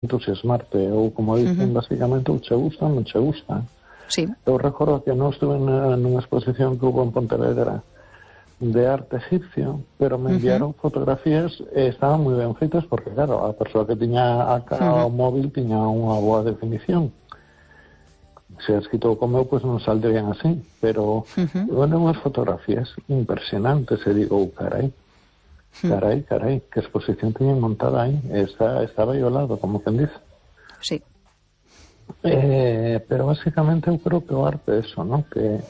entusiasmarte, ou como dicen basicamente, ou che gusta, non che gusta. Sí. Eu recordo que non estuve nunha exposición que hubo en Pontevedra de arte egipcio, pero me enviaron fotografías e estaban moi ben feitas porque, claro, a persoa que tiña o móvil tiña unha boa definición. Se has escrito como eu, pois non saldrían así, pero bueno, unhas fotografías impresionantes, e digo, carai, que exposición teñen montada aí, estaba aí ao lado, como quen dice. Sí. Pero basicamente eu creo que o arte é eso, ¿no? Que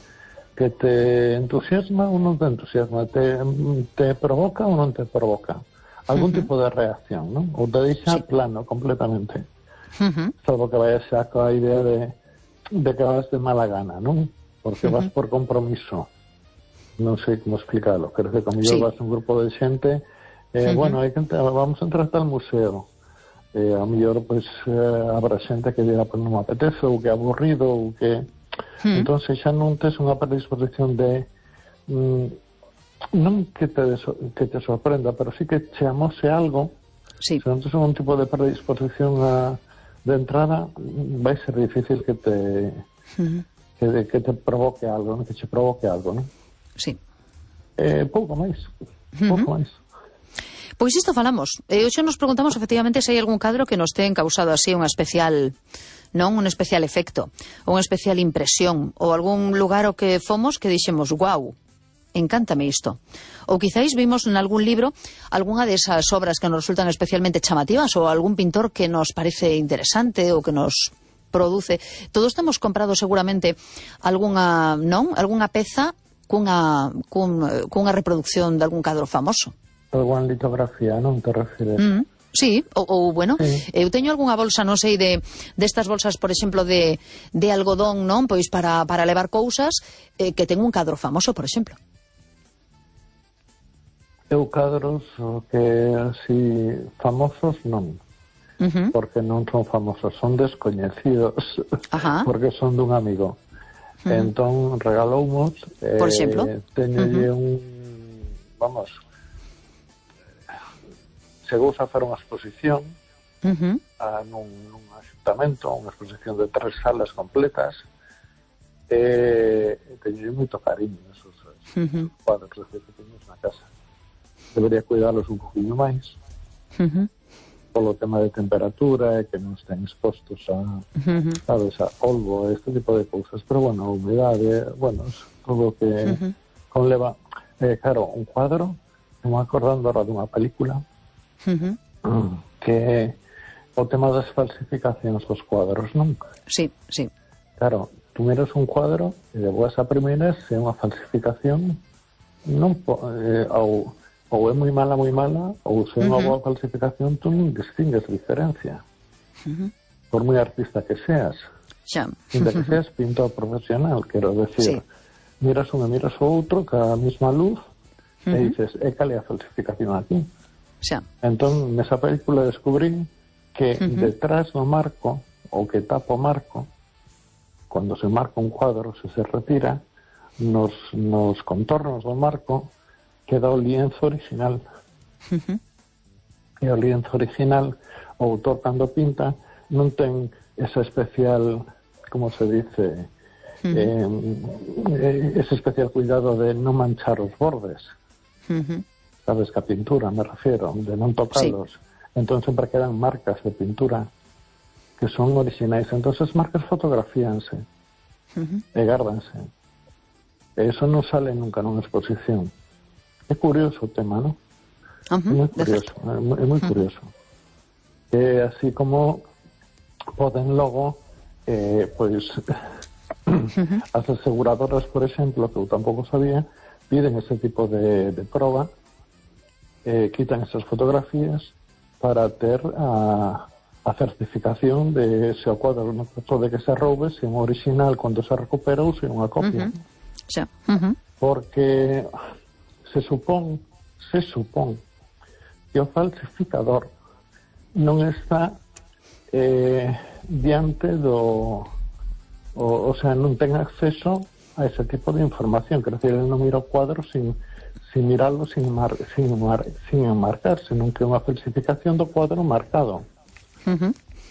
te entusiasma ou non te entusiasma, te provoca ou non te provoca algún tipo de reacción, ¿no? Ou te deixa plano completamente, salvo que vayas xa coa idea de que vas de mala gana, ¿non? Porque vas por compromiso. Non sei como explicarlo, quero que como vas un grupo de xente, bueno, vamos a entrar tal museo, a mellor pois habrá xente que dirá, pois non me apetece, ou que é aburrido, ou que entón xa non tes unha predisposición de non que te sorprenda, pero sí que che amose algo. Se non tes un tipo de predisposición de entrada, vai ser difícil que te provoque algo, que che provoque algo, non? Sí. Pouco máis. Pois isto falamos. Hoxe nos preguntamos efectivamente se hai algún cadro que nos ten causado así un especial, non un especial efecto, ou unha especial impresión, ou algún lugar ao que fomos que dixemos, guau, encántame isto. Ou quizáis vimos en algún libro algunha desas obras que nos resultan especialmente chamativas, ou algún pintor que nos parece interesante ou que nos produce. Todos temos comprado seguramente algunha peza cunha reproducción de algún cadro famoso. Alguna litografía, non te refires? Sí, ou bueno, eu teño algunha bolsa, non sei, destas bolsas, por exemplo, de algodón, non? Pois para levar cousas, que ten un cadro famoso, por exemplo. Eu cadros que así famosos non, porque non son famosos, son descoñecidos, porque son dun amigo. Entón regaloumos, por exemplo, teñolle chegou a facer unha exposición nun axuntamento, unha exposición de 3 salas completas, e teñolle moito cariño esos cuadros que teños na casa. Debería cuidalos un poquinho máis polo tema de temperatura e que non estén expostos a polvo, este tipo de cousas, pero bueno, a humedade, bueno, todo o que conleva. Claro, un cuadro, me acordando ahora dunha película que o tema das falsificacións dos cuadros, non? Sí. Claro, tú miras un cuadro e de boas a primeiras se é unha falsificación, non ou é moi mala, ou se é unha boa falsificación, tú non distingues diferencia. Por moi artista que seas. Ainda que seas pintor profesional, quero decir, miras un e miras o outro ca mesma luz e dices, cal é a falsificación aquí? Entón, nesa película descubrí que detrás do marco, ou que tapa o marco, cando se marca un cuadro, se retira, nos contornos do marco queda o lienzo original. E o lienzo original, o autor cando pinta, non ten esa especial, como se dice, ese especial cuidado de non manchar os bordes. Sabes, que a pintura, me refiero, de non tocalos. Entón sempre quedan marcas de pintura que son originais. Entón as marcas fotografíanse e gárdanse. E eso non sale nunca nunha exposición. É curioso o tema, non? É moi curioso. É así como poden logo pois as aseguradoras, por exemplo, que eu tampouco sabía, piden ese tipo de proba, quitan esas fotografías para ter a certificación de se o cuadro non pode que se roube, se é un original cando se recupera ou se é unha copia. Porque se supón que o falsificador non está diante o sea, non ten acceso a ese tipo de información, quer dizer, ele non mira o cuadro sin mirarlo, sin enmarcar, senón que é unha falsificación do cuadro marcado.